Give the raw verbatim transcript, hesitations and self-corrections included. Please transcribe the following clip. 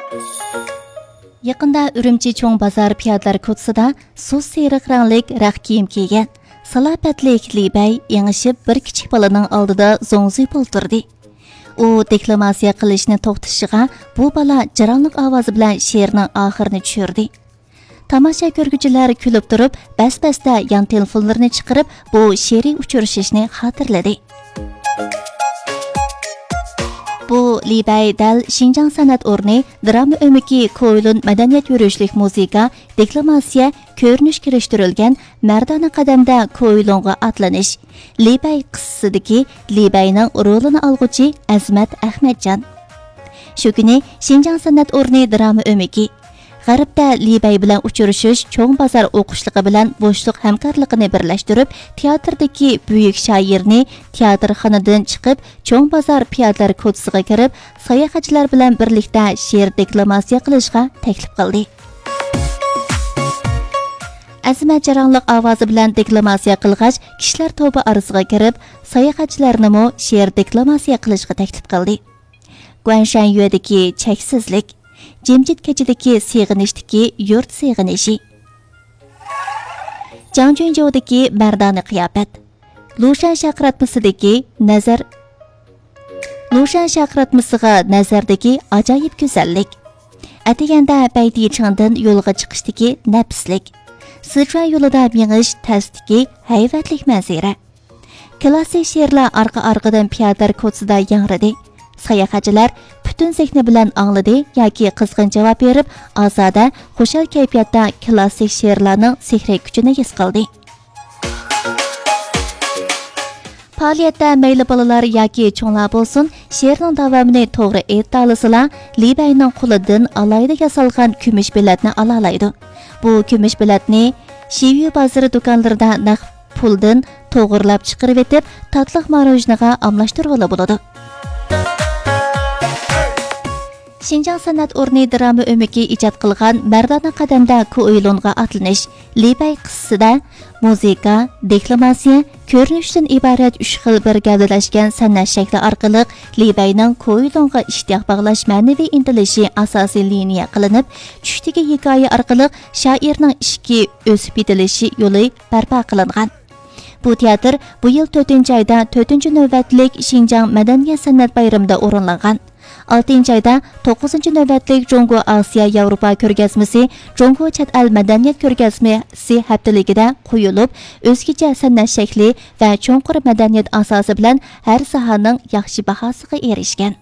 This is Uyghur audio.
يېقىندا ئۈرۈمچى چوڭ بازار پىيادىلەر كوچىسىدا سۇس سېرىق رەڭلىك رەخت كىيىم كىيگەن، سالاپەتلىك لى بەي ئېڭىشىپ بىر كىچىك بالىنىڭ ئالدىدا زوڭزىيىپ ئولتۇردى. ئۇ دېكلاماتسىيە قىلىشنى توختىتىشىغا، بۇ بالا جاراڭلىق ئاۋازى بىلەن شېئىرنىڭ ئاخىرىنى چۈشۈردى. تاماشا كۆرگۈچىلەر كۈلۈپ تۇرۇپ، بەس-بەستە يان تېلېفونلىرىنى چىقىرىپ، بۇ شېئىرىي ئۇچرىشىشنى خاتىرىلىدى. بۇ لى بەي دەل شىنجاڭ سەنئەت ئورنى دىراما ئۆمىكى كويلۇن مەدەنىيەت يۈرۈشلۈك مۇزىكا، دېكلاماتسىيە، كۆرۈنۈش كىرىشتۈرۈلگەن مەردانە قەدەمدە كويلۇنغا ئاتلىنىش، لى بەي قىسسىسىدىكى لى بەينىڭ رولىنى ئالغۇچى ئەزىمەت ئەخمەتجان. شۇ كۈنى شىنجاڭ سەنئەت ئورنى دىراما ئۆمىكى، غەربتە لى بەي بىلەن ئۇچرىشىش چوڭ بازار ئوقۇشلۇقى بىلەن بوشلۇق ھەمكارلىقىنى بىرلەشتۈرۈپ، تىياتىردىكى بۈيۈك شائىرنى تىياتىرخانىدىن چىقىپ، چوڭ بازار پىيادىلەر كوچىسىغا كىرىپ، ساياھەتچىلەر بىلەن بىرلىكتە شېئىر دېكلاماتسىيە قىلىشقا تەكلىپ قىلدى. ئەزىمەت جاراڭلىق ئاۋازى بىلەن دېكلاماتسىيە قىلغاچ، كىشىلەر توپى ئارىسىغا كىرىپ، ساياھەتچىلەرنىمۇ شېئىر دېكلاماتسىيە قىلىشقا تەكلىپ قىلدى. گۇەنشەنيۆدىكى چەكسىزلىك، جىمجىت كېچىدىكى سېغىنىشتىكى يۇرت سېغىنىشى. جاڭجۈنجۇدىكى مەردانە قىياپەت. لۇشەن شارقىراتمىسىدىكى نەزەر، لۇشەن شارقىراتمىسىغا نەزەردىكى ئاجايىپ گۈزەللىك. ئەتىگەندە بەيتىچىڭدىن يولغا چىقىشتىكى نەپىسلىك. سىچۈەن يولىدا مېڭىش تەستىكى ھەيۋەتلىك مەنزىرە. كلاسسىك شېئىرلار ئارقا-ئارقىدىن پىيادىلەر كوچىسىدا ياڭرىدى. ساياھەتچىلەر پۈتۈن زېھنى بىلەن ئاڭلىدى ياكى قىزغىن جاۋاب بېرىپ، ئازادە، خۇشال كەيپىياتتا كلاسسىك شېئىرلارنىڭ سېھرىي كۈچىنى ھېس قىلدى. پائالىيەتتە مەيلى بالىلار ياكى چوڭلار بولسۇن، شېئىرنىڭ داۋامىنى توغرا ئېيتالىسىلا، لى بەينىڭ قولىدىن ئالاھىدە ياسالغان كۈمۈش بېلەتنى ئالالايدۇ. بۇ كۈمۈش بېلەتنى شىۋيۈ بازىرى دۇكانلىرىدا نەق پۇلدىن توغرىلاپ چىقىرىۋېتىپ، تاتلىق ماروژنىغا ئالماشتۇرغىلى بولىدۇ. شىنجاڭ سەنئەت ئورنى دىراما ئۆمىكى ئىجاد قىلغان مەردانە قەدەمدە كوئىلونغا ئاتلىنىش، لى بەي قىسسىسىدە مۇزىكا، دېكلاماتسىيە، كۆرۈنۈشتىن ئىبارەت ئۈچ خىل بىر گەۋدىلەشكەن سەنئەت شەكلى ئارقىلىق لى بەينىڭ كوئىلونغا ئىشتىياق باغلاش مەنىۋى ئىنتىلىشى ئاساسىي لىنىيە قىلىنىپ، چۈشتىكى ھېكايە ئارقىلىق شائىرنىڭ ئىچكى ئۆسۈپ يېتىلىشى يولى بەرپا قىلىنغان. بۇ تىياتىر بۇ يىل تۆتىنچى ئايدا تۆتىنچى نۆۋەتلىك شىنجاڭ مەدەنىيەت سەنئەت بايرىمىدا ئورۇنلانغان. ئالتىنچى ئايدا توققۇزىنچى نۆۋەتلىك جۇڭگو ئاسىيا ياۋروپا كۆرگەزمىسى، جۇڭگو چەت ئەل مەدەنىيەت كۆرگەزمىسى ھەپتىلىكىدە قويۇلۇپ، ئۆزگىچە سەنئەت شەكلى ۋە چوڭقۇر مەدەنىيەت ئاساسى بىلەن ھەر ساھەنىڭ ياخشى باھاسىغا ئېرىشكەن.